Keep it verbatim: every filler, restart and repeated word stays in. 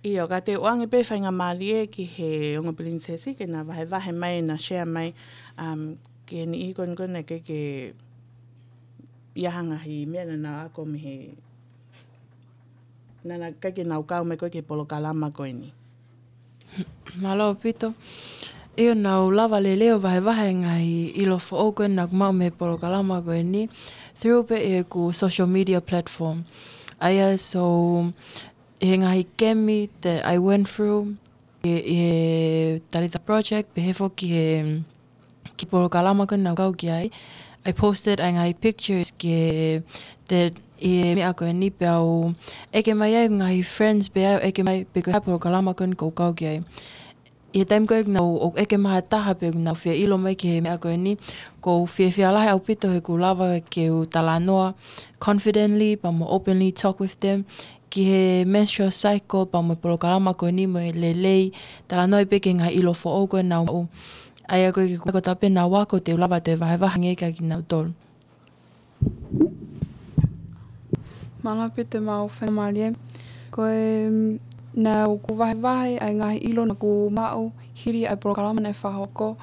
ʻIo, ka te u ʻoange pē faingamālie ki he ongo pilinisesi ke na vahevahe mai, na share mai, um, ki he niʻihi ko eni ko ē naʻe ʻikai ke ʻi ai ha ngaahi meʻa naʻa nau ako mei he, naʻa nau ʻikai ke nau kau mai ko ē ki he polokalama ko eni. Mālō ʻaupito. ʻIo, naʻa ku lava lelei ʻo vahevahe e ngaahi ʻilo foʻou ko ē naʻa ku maʻu mei he polokalama ko eni through pē ʻeku social media platform. ʻA ia, so, ʻi he ngaahi kemi that I went through, ʻi he, ʻi he Talitha Project, pehē foki ki he, ki he polokalama ko ē naʻa ku kau ki ai. I posted ʻa e ngaahi pictures ki he, that, ʻi he meʻa ko eni pea u ʻeke mai ai ngaahi friends pē au ʻeke mai pe ko e hā e polokalama ko ē naʻa ku kau ki ai. ʻI he taimi ko ē naʻa ku ʻeke mai ha taha pe naʻa ku fie ʻilo mai ki he meʻa ko eni, ʻoku ou fiefia lahi ʻaupito he kuo lava ke u talanoa confidently, pea mo openly talk with them, ki he menstrual cycle, pea mo e polokalama ko eni mo e lelei, talanoa ai pē ki he ngaahi ʻilo foʻou ko ē naʻa ku maʻu. ʻA ia ko e kiʻi kotoa pē naʻa ku ako te u lava toe vahevahe ange kia kinautolu. Mālō ʻaupito e maʻu faingamālie. Ko e, mm, naʻa ku vahevahe ʻa e ngaahi ʻilo naʻa ku maʻu hili ʻa e polokalama naʻe fakahoko.